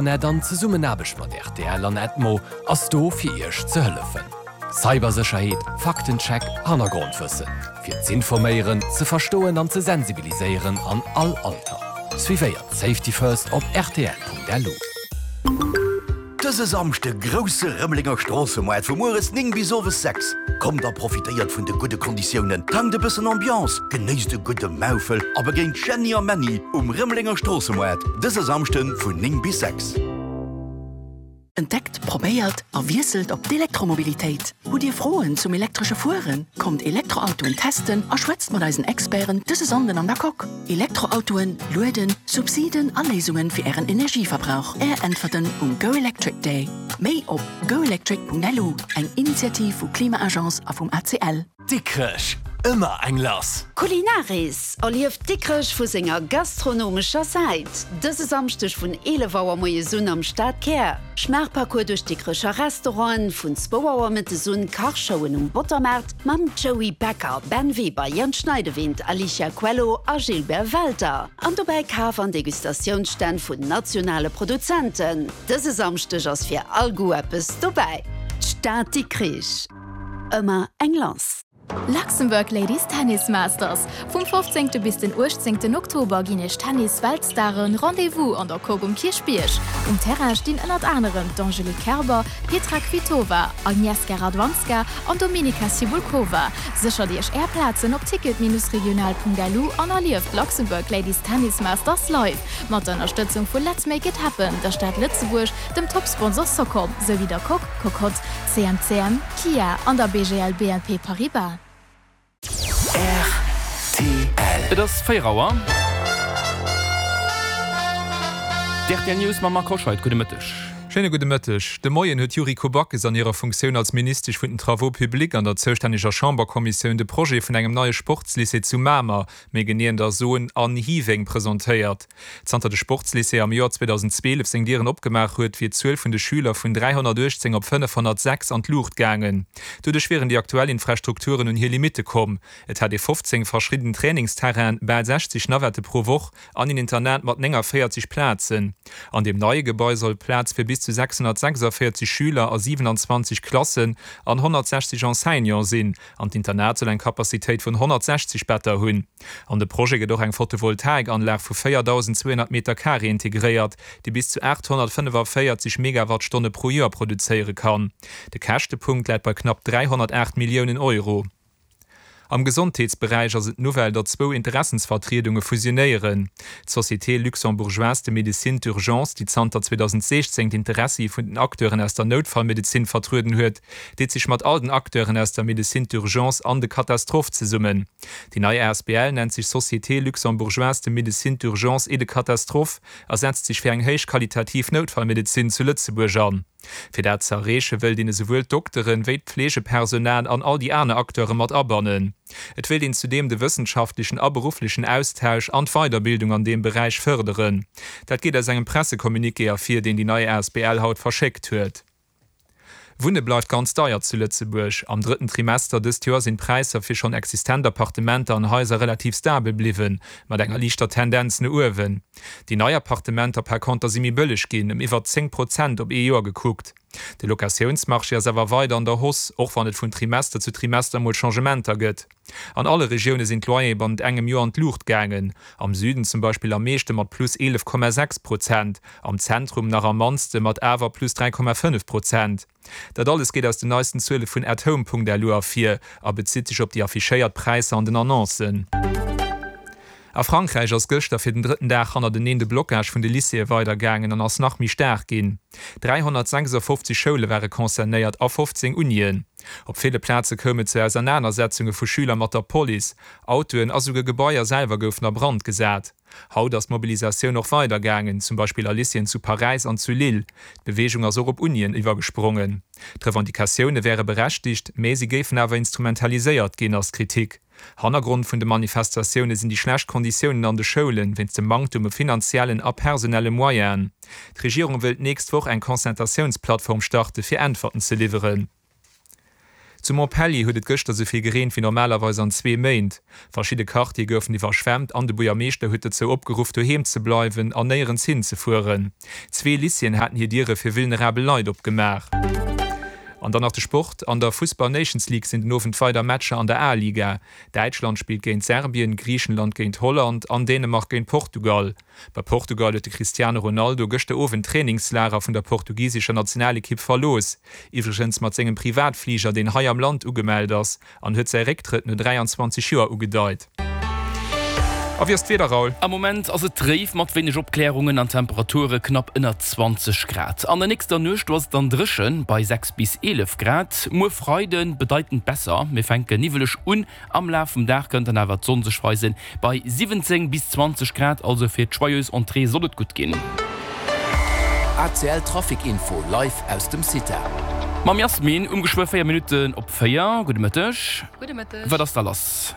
Net an Zesummenaarbecht mat rtl an Edmo ass do fir Iech ze hëllefen. Cybersécherheet, Faktencheck, Hannergrondwëssen. Fir z'informéieren, ze verstoen an ze sensibiliséieren an all Alter. Suivéiert Safety First op rtl.lu. Dëse Samschde grousse Rëmelenger Stroossemaart vu mueres 9 bis owes 6. Kommt a profitéiert vun de gudde Konditiounen, tankt e bëssen Ambiance, genéisst e gudde Maufel a begéint Jeanny a Männy um Rëmelenger Stroossemaart dëse Samschde vun 9 bis 6. Entdeckt, probéiert a wiesselt op d'Elektromobilitéit! Hutt Dir Froen zum elektresche Fueren? Kommt Elektroautoen testen a schwätzt mat eisen Experten dëse Sonnden an der Coque. Elektroautoen, Lueden, Subsiden a Léisungen fir Ären Energieverbrauch. Är Äntwerten um Go Electric Day. Méi op goelectric.lu, eng Initiativ vu Klima-Agence a vum ACL. Dikrech, ëmmer eng lass! Culinaris, Erlieft Dikrech vu senger gastronomescher Säit, dëse Samschdeg vun 11 Auer moies un am Stadkär. Schmaachparcours duerch d'Dikrecher Restauranten, vun zwou Auer mëttes un Kachshowen um Bottermaart mam Joey Becker, Ben Weber, Jens Schneidewind, Alicia Coelho a Gilbert Welter. An dobäi Kaf an Degustatiounsstänn vun nationale Produzenten. Dëse Samschdeg ass fir all Goût eppes dobäi. D'Stad Dikrich, ëmmer eng lass. Luxembourg Ladies Tennis Masters, Vum 15. Bis den 18. Oktober ginn iech Tennis-Weltstaren Rendez-vous an der Coque um Kierchbierg. Um Terrain stinn ënnert anerem d'Angelique Kerber, Petra Kvitova, Agnieszka Radwanska an Dominika Cibulkova. Séchert iech är Plazen op ticket-regional.lu an erlieft d'Luxembourg Ladies Tennis Masters live mat der Ënnerstëtzung vu Let's Make It Happen, der Stad Lëtzebuerg, dem Top-Sponsor Socom, souwéi der Coque, Cocotte, CMCM. Kia an der BGL BNP Paribas. Rtl. Et ass 4 Auer. D'RTL News mam Marc Hoscheid. Gudde Mëtteg. Schéine gudde Mëtteg. De Moien huet d'Yuriko Backes an hirer Funktioun als Ministesch vun den Travaux publics an der zoustänneger Chamberkommissioun de Projet vun engem neie Sportslycée zu Mamer, méi genee an der Zone An Hiweng, presentéiert. Zanter de Sportslycée am Joer 2012 seng Dieren opgemaach huet, wier d'Zuel vun de Schüler vun 318 op 506 an d'Luucht gaangen. Doduerch wieren déi aktuell Infrastrukturen un hir Limitte komm. Et hätt ee 15 verschidden Trainingsterrainen, bal 60 Navette pro Woch an een Internat mat 49 Plazen. An deem neie Gebai soll Plaz fir bis zu 646 Schüler a 27 Klassen an 160 Enseignante sinn. An d'Internat soll eng Capacitéit vun 160 Better hunn. An de Projet gëtt och eng Photovoltaikanlag vu 4.200 Meter Carré integréiert, déi bis zu 845 Megawattstonne pro Joer produzéiere kann. De Käschtepunkt läit bei knapp 308 Milliounen Euro. Am Gesondheetsberäich ass et d'Nouvelle, datt zwou Interessensvertriedunge fusionéieren. D'Société luxembourgeoise de médecine d'urgence, déi zanter 2016 d'Interessie vun den Acteuren aus der Noutfallmedezin vertrueden huet, deet sech mat all den Acteuren aus der Médecine d'urgence an de Catastrophe zesummen. Déi nei asbl nennt sech Société luxembourgeoise de médecine d'urgence et de catastrophe a setzt sech fir eng héich qualitativ Noutfallmedezin zu Lëtzebuerg an. Fir dat ze erreeche wëllt een esouwuel d'Dokteren, wéi d'Pflegepersonal an all déi aner Acteure mat abannen. Et wéilt een zudeem de wëssenschaftlechen a berufflechen Austausch an d'Weiderbildung an deem Beräich fërderen. Dat geet aus engem Pressecommuniqué ervir, deen déi nei asbl haut verschéckt huet. Wunne bleift ganz deier zu Lëtzebuerg. Am drëtten Trimester dëst Joer sinn d'Präisser fir schonn existent Appartementer an Haiser relativ stabel bliwwen, mat enger liichter Tendenz no uewen. Déi nei Appartementer par conter si méi bëlleg ginn, ëm iwwer 10 Prozent op ee Joer gekuckt. De Locatiounsmarché ass awer weider an der Hausse, och wann et vun Trimester zu Trimester mol Changementer gëtt. An alle Regioune sinn d'Loyere bannent engem Joer an d'Luucht gaangen, am Süden zum Beispill am meeschte mat plus 11,6 Prozent, am Zentrum nach am mannste mat awer plus 3,5 Prozent. Dat alles geet aus den neisten Zuele vun atHome.lu ervir a bezitt sech op déi affichéiert Präisser an den Annoncen. A Frankräich ass gëschter fir den drëtten Dag hannerteneen de Blocage vun de Lycéeë weidergaangen an ass nach méi staark ginn. 356 Schoule ware concernéiert a 15 Unien. Op ville Plaze koum et zu Ausernanersetzunge vu Schüler mat der Police, Autoen a souguer Gebaier selwer goufen a Brand gesat. Haut ass d'Mobilisatioun och weider gaangen, zum Beispill a Lycéeën zu Paräis an zu Lille. D'Beweegung ass och op Unien iwwergesprongen. D'Revendicatioune wäre berechtigt, mä si géifen awer instrumentaliséiert ginn, ass d'Kritik. Hannergrond vun de Manifestatioune sinn déi schlecht Konditiounen an de Schoulen, wéinst dem Manktum u finanziellen a personelle Moyenen. D'Regierung wëllt d'nächst Woch eng Concertatiounsplattform starte fir Äntwerten ze liwweren. Zu Montpellier huet et gëschter sou vill gereent wéi normalerweis an zwee Méint. Verschidde Quartiere goufen iwwerschwemmt an de Buergermeeschter huet dozou opgeruff, doheem ze bleiwen an néierens hin ze fueren. Zwee Lycéeën haten hir Diere fir vulnerabel Leit opgemaach. An dann nach de Sport, An der Fussball Nations League sinn den Owend weider Matcher an der A-Liga. Däitschland spillt géint Serbien, Griichenland géint Holland an Dänemark géint Portugal. Bei Portugal huet de Cristiano Ronaldo gëschter Owend d'Trainingslager vun der portugisescher Nationalekipp verlooss, iwwregens mat sengem Privatfliger, deen hei am Land ugemellt ass, an huet säi Récktrëtt no 23 Joer ugedeit. A wéi ass d'Wieder, Raoul? Am Moment ass et dréif mat wéineg Opklärungen an Temperature knapp ënner 20 Grad. An der nächster Nuecht do ass et dann dréchen bei 6 bis 11 Grad. Muer Freide bedeitend besser, mir fänke niwweleg un, Am Laf vum Dag kënnt dann awer d'Sonn sech weisen, bei 17 bis 20 Grad, also fir d'Joyeuse Entrée soll et gutt ginn. ACL Trafic Info live aus dem CITA. Mam Jasmin um geschwë 4 Minutten op 4. Gudde Mëtteg. Gudde Mëtteg. Wat ass da lass?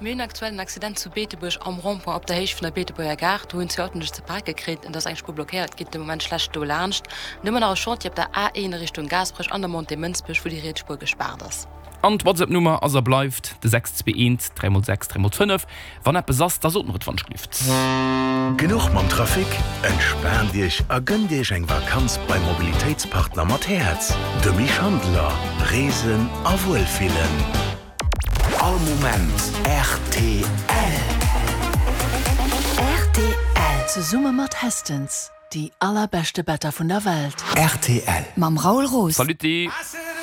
Mir hunn aktuell en Accident zu Beetebuerg am Rond-point op der Héicht vun der Beetebuerger Gare. Do hunn zwee Autoen sech ze pake kritt. Et ass eng Spuer blockéiert, geet de Moment schlecht do laanscht. An du hu mer nach e Chantier op der A1 a Richtung Gaasperech an der Montée Mënsbech, wou déi riets Spuer gespaart ass. An d'Whatsapp Nummer ass a bleift de 621 3 x 6 3 x 5. Wann eppes ass, da sot mer et wann ech glift. Genuch mam Trafic? Entspaant Iech a gënnt Iech eng Vakanz beim Mobilitéitspartner mat Häerz, de Mich Handeler. Reesen a Wuelfillen. All Moment rtl. Rtl, zesumme mat Hestens, déi allerbeschte Better vun der Welt. Rtl. Mam Raoul Roos. Saluti!